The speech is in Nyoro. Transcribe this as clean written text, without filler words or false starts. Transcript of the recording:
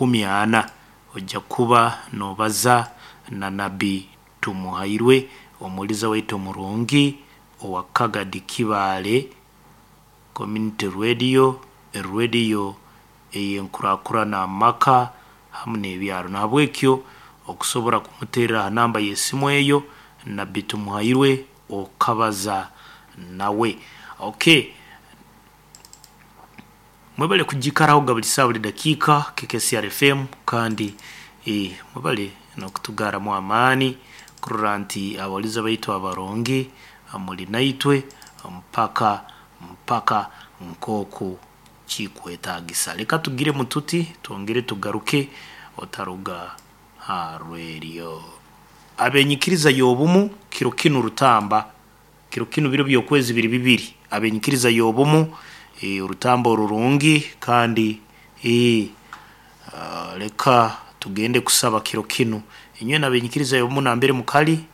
40. Ojja kuba noobaza na Nabbi Tumuhairwe, omuhuliza waitu omurungi owa Kagadi Kibaale Community Radio, erediyo ey'enkurakurana amaka hamu n'ebyaro. Nahabwekyo okusobora kumuterra ha namba y'esimu eyo, Nabbi Tumuhairwe, okabaza nawe. Okay, mwebale kugikarahoga buli saaha, buli dakiika, KKCR FM, kandi mwebale n'okutugarramu amaani kurora nti abahuliza baitu abarungi muli naitwe mpaka mpaka nkooku kikwetaagisa. Leka tugiremu tuti, twongere tugaruke, otaruga ha radio. Ab'enyikiriza y'obumu kiro kinu rutamba, kiro kinu biro by'okwezi biri 2, ab'enyikiriza y'obumu, orutamba orurungi, kandi leka tugende kusaba kiro kinu. Inywena ab'enyikiriza y'obumu nambere mukali.